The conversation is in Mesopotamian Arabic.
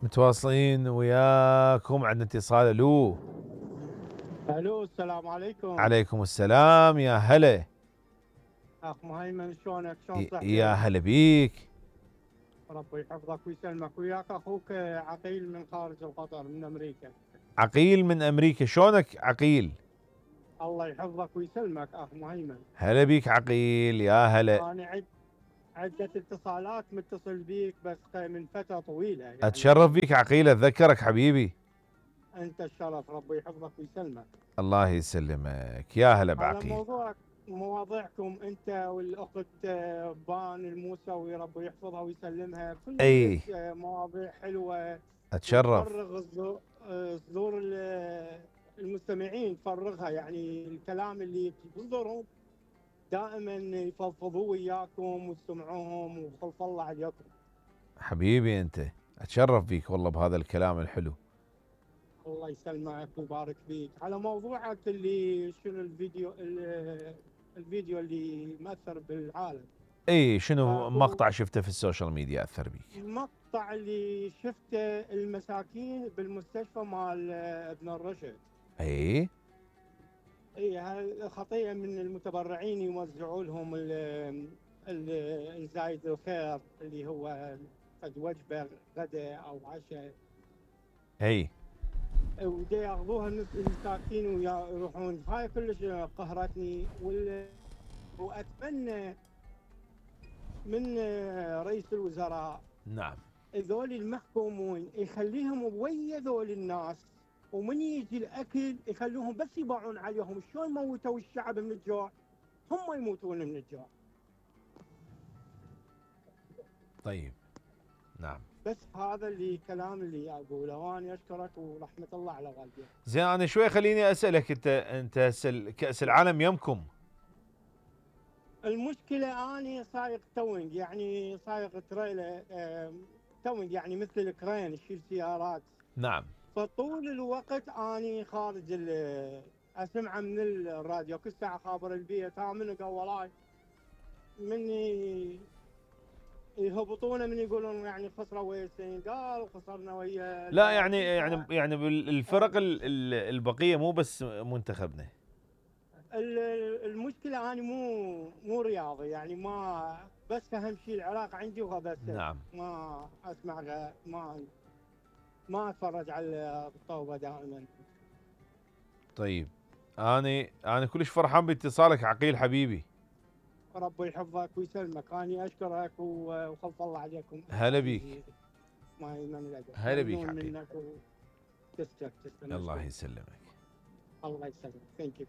متواصلين وياكم. عندنا اتصال. الو الو، السلام عليكم. عليكم السلام، يا هلا. اخ مهيمن، شلونك؟ شلون يا صحتك؟ هلا بيك. ربي يحفظك ويسلمك. وياك اخوك عقيل من خارج القطر من امريكا. عقيل من امريكا، شلونك عقيل؟ الله يحفظك ويسلمك اخ مهيمن. هلا بيك عقيل، يا هلا. انا عدة اتصالات متصل بيك بس من فترة طويلة اتشرف يعني. بيك عقيل، اتذكرك حبيبي. انت الشرف، ربي يحفظك ويسلمك. الله يسلمك، يا هلا على بعقيل. مواضيعكم انت والاخت بان الموسوي، ربي يحفظها ويسلمها، كلش اي مواضيع حلوة اتشرف. وتفرغ صدور المستمعين، تفرغها يعني الكلام اللي بصدرهم دائما يفضفضوا وياكم وتسمعوهم، وخلف الله عليكم. حبيبي انت، اتشرف بيك والله بهذا الكلام الحلو. الله يسلمك ويبارك فيك. على موضوعك اللي شنو الفيديو اللي مأثر بالعالم. اي شنو اكو مقطع شفته في السوشيال ميديا اثر بيك؟ مقطع اللي شفته المساكين بالمستشفى مال ابن الرشد. اي اي، هاي خطيئة من المتبرعين يوزعوا لهم الزايد الخير اللي هو قد وجبة غداء او عشاء، اي ودي ياخذوها المساكين ويروحون. هاي كلش قهرتني، واتمنى من رئيس الوزراء نعم. ذول المحكومون يخليهم ويا ذول الناس، ومن يجي الاكل يخلوهم بس يباعون عليهم. شلون موتوا الشعب من الجوع، هم يموتون من الجوع. طيب نعم. بس هذا اللي كلام اللي اقوله، وانا اشكرك ورحمه الله على والديك. زين انا شوي خليني اسالك، انت هسه كاس العالم يمكم؟ المشكله اني سايق توينج، يعني سايق تريلا توينج، يعني مثل الكرين يشيل سيارات. نعم. فطول الوقت اني خارج اسمعه من الراديو كل ساعه، خابر البيت ها منو قولاي من يهبطونه، من يقولون يعني خسروا ويا السنغال وخسرنا ويا لا يعني البرازيل. بالفرق البقيه مو بس منتخبنا. المشكله انا مو رياضي يعني، ما بس اهم شيء العراق عندي وبس. نعم. ما اسمع ما اتفرج على الطوبه دائما. طيب انا كلش فرحان باتصالك عقيل حبيبي. ربي يحفظك ويسلمك. اني اشكرك وخلف الله عليكم. هلا بيك. ما يمن هلا بيك عقيل. منك تسلم. الله يسلمك. الله يسلمك. ثانك يو.